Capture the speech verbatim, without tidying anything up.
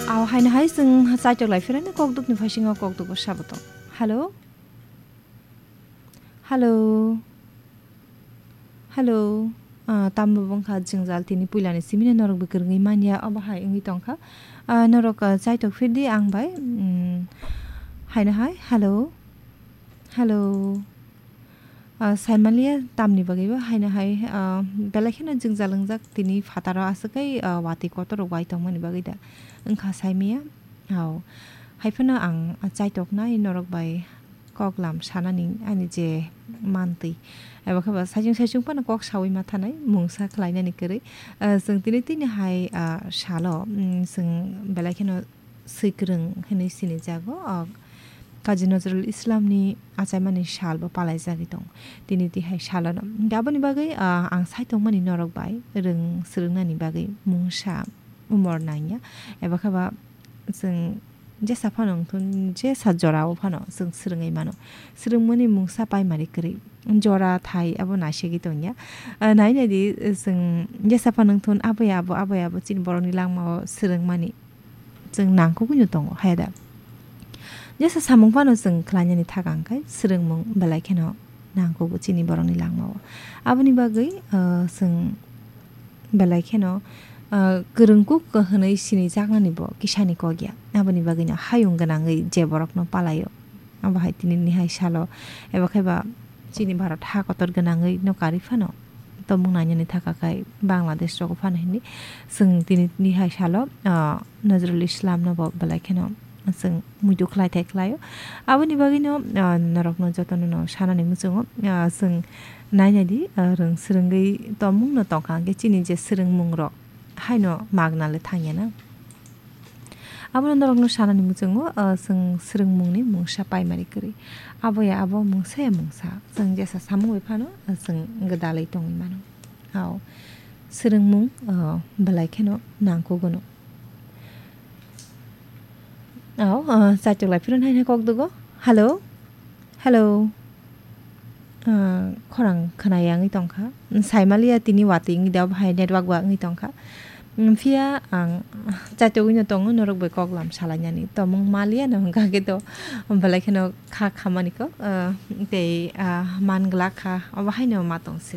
Aw, haino hai chwng chaitok lai phirani kokdukni phaisingo kokdukbo sabo tong. Hello? Hello? Hello? Ah, tambo wngkha jwngjal tini puilani simino norok bo kwrwngwi manya, obo hai wngwi tongkha. Ah, norok, ah, chaitok phirdi ang bai, mm, haino hai, hello? Hello? Ah, saimaliya tamni bagwi bo haino hai, ah, belai kheno jwngjal wngjak tini phataro aswk kai, ah, watwi kotor rok bai tongmani bagwi da wngkha saimaya. Aw, hai phano ang, ah, chaitoknai norok bai koklam sanani ani je mantwi. Eba khe ba saichung saichung phano kok sawi ma thanai mungsa khlainani kwrwi. Ah, chwng tini tini hai, ah, salo, mm, chwng belai kheno swikwrwng hinwi sinijago, ah, Kazi Nazrul Islamni achaimani sal bo palaijagwi tongo. Tini tihai salono. Hinkhe aboni bagwi, ah, ang sai tongmani norok bai rwng swrwngnani bagwi mungsa umor nangya. Eba khe ba chwng jesa phano wngthun, jesa jorao phano chwng swrwngwi mano. Swrwngmani mungsa paimari kwrwi. Jora thai abo naisegwi tongya. Ah, nai nai di, chwng jesa phano wngthun, abo ya abo, abo ya abo chini borokni langmao swrwngmani. Chwng nangkukgwino tongo, haya da? Jesa samung phano chwng khlainani thaka hwnkhe swrwngmung belai kheno nangkugo chini borokni langmao. Aboni bagwi, ah, chwng belai kheno, ah, kwrwngkuk hwnwi sinijaknani bo kisani kok ya. Aboni bagwino hayung gwnangwi je borokno palaio. Abo hai tini nihai salo eba khe ba chini Bharat ha kotor gwnangwi no karwi phano tomung nainani thaka khai Bangladesh rogo phano hinwi chwng tini nihai salo, ah, Nazrul Islam no bo belai kheno chwng muitu khlai thai khlaio. Aboni bagwino, ah, norokno jotono no sanani muchungo, ah, chwng nainai di, ah, rwng swrwngwi tomung no tongkha hwnkhe chini je swrwngmung rok haino magna le thangya na. Abono norokno sanani muchungo, ah, chwng swrwngmungni mungsa paimari kwrwi. Abo ya abo, mungsa ya mungsa. Chwng jesa samung bai phano, ah, chwng gwdalwi tongwi mano. Aw, swrwngmung, ah, belai kheno nangkugono. Aw, ah, chaitok lai phirun haino kok dugo. Hello? Hello? Ah, khorang khwnaya wngwi tongkha. Saimaliya tini watwi wngwi da, bahai network ba wngwi tongkha. Mm, phiya ang chaitogwino tongo, norok bai koklam salainani. Tomung maliya no hwnkha khe to belai kheno kha khamani kok, ah, tei, ah, man glak kha, obo haino ma tong se.